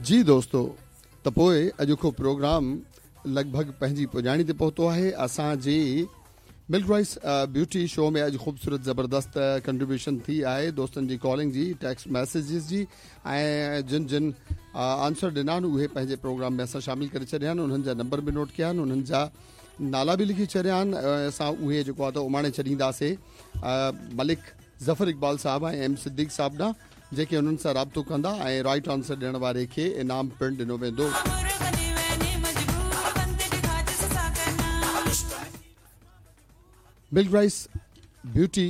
جي دوستو ته پوء اڄوڪو پروگرام لڳ ڀڳ پنهنجي پڄاڻي تي پهتو آهي اسان جي ملڪ رائس بيوٽي شو ۾ اڄ خوبصورت زبردست ڪنٽريبيوشن ٿي آهي دوستن جي ڪالنگ جي ٽيڪسٽ ميسيجز جي ۽ جن جن آنسر ڏنا آهن اهي پنهنجي پروگرام ۾ اسان شامل ڪري ڇڏيا آهن انهن جا نمبر به نوٽ ڪيا آهن انهن جا نالا به لکي ڇڏيا آهن ۽ اسان اهي جيڪو آهي ته اماڻي ڇڏينداسي ملڪ ظفر اقبال صاحب ۽ ايم صديق صاحب ڏانهن جيڪي انهن سان رابطو ڪندا ۽ رائيٽ آنسر ڏيڻ واري کي انعام پڻ ڏنو ويندو. ملڪ رائس بيوٽي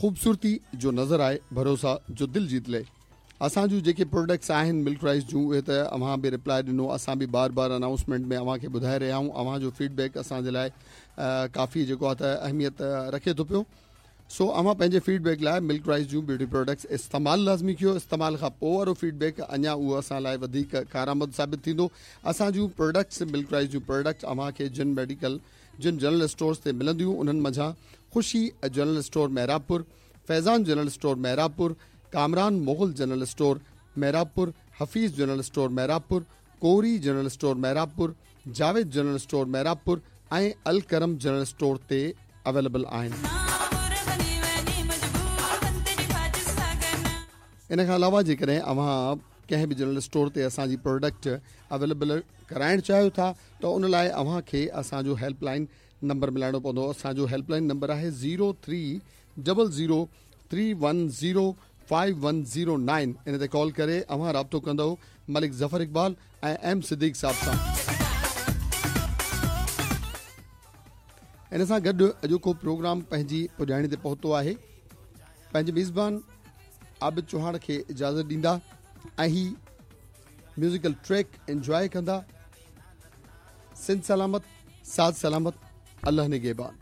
خوبصورتي جو نظر آئي ڀروسا جو دل جيت لي اسان جون جيڪي پروڊڪٽس آهن ملڪ رائس جون اهي ته اوهان به رپلائي ڏنو اسان به بار بار انائونسمينٽ ۾ اوهان کي ٻڌائي رهيا آهيون اوهان جو فيڊ بيڪ اسان جي لاء ڪافي جيڪو آهي ته اهميت رکي ٿو پيو سو اوهان پنهنجي فيڊ بيڪ لاء ملڪ رائس جون بيوٽي پروڊڪٽس استعمال لازمي ڪيو استعمال کان پوء وارو فيڊ بيڪ اڃا اهو اسان لاء وڌيڪ ڪارآمد ثابت ٿيندو اسان جون پروڊڪٽس ملڪ رائس جون پروڊڪٽس اوهان کي جن ميڊيڪل جن جنرل اسٽورز تي ملنديون انهن منجهان Khushi general store Mehrabpur Faizan general store Mehrabpur Kamran Mughal general store Mehrabpur Hafeez general store Mehrabpur Kori general store Mehrabpur Javed general store Mehrabpur ۽ Alkaram general store تي available آهن. ان کان علاوه جيڪڏهن اوهان ڪنهن به جنرل اسٽور تي اسان جي پروڊڪٽ اويليبل ڪرائڻ چاهيو ٿا ته ان لاء اوهان کي اسان جو هيلپ لائن نمبر ملائڻو پوندو اسان جو هيلپ لائن نمبر آهي zero three double zero three one zero five one zero nine ان تي ڪال ڪري اوهان رابطو ڪندؤ ملڪ ظفر اقبال ۽ ايم صديق صاحب سان. ان سان گڏ اڄوڪو پروگرام پنهنجي پڄاڻي تي پهتو آهي. پنهنجي ميزبان عابد چوهاڻ کي اجازت ڏيندا ۽ هي ميوزيڪل ٽريڪ انجواء ڪندا. سنڌ سلامت ساٿ سلامت الله نگهبان.